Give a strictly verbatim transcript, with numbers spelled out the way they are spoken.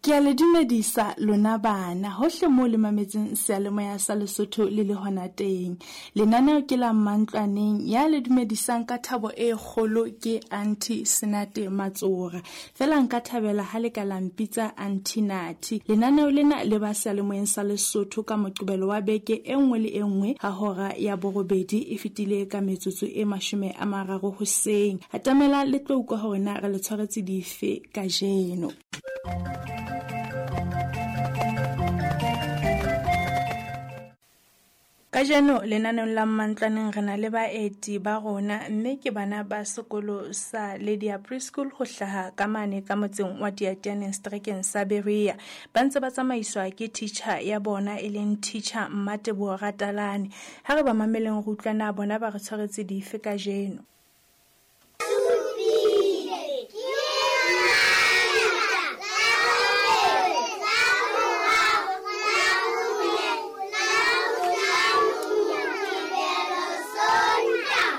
Ke a le dumedisa lona bana hohle moo le mametseng seyalemoya sa Lesotho le le hona teng. Lenaneo ke la Mantlwaneng, ya le dumedisang ka thabo e kgolo ke Auntie Senate Matsora. Feela nka thabela ha le ka la mpitsa Auntie Nathi. Lenaneo lena le ba seyalemoyeng sa Lesotho ka Moqebelo wa beke e nngwe le e nngwe ha hora ya borobedi e fetile ka metsotso e mashome a mararo hoseng. Atamela le tlo utlwa hore na re le tshwaretse dife kajeno. Kajeno lenaneong la Mantlwaneng re na le baeti ba rona, mme ke bana ba sekolo sa Lydia Preschool ho hlaha ka mane ka motseng wa Diatianeng seterekeng sa Berea. Ba ntse ba tsamaiswa ke teacher ya bona e leng teacher Mmateboho Ratalane. Ha re ba mameleng re utlwa na bona ba re tshwaretse dife kajeno.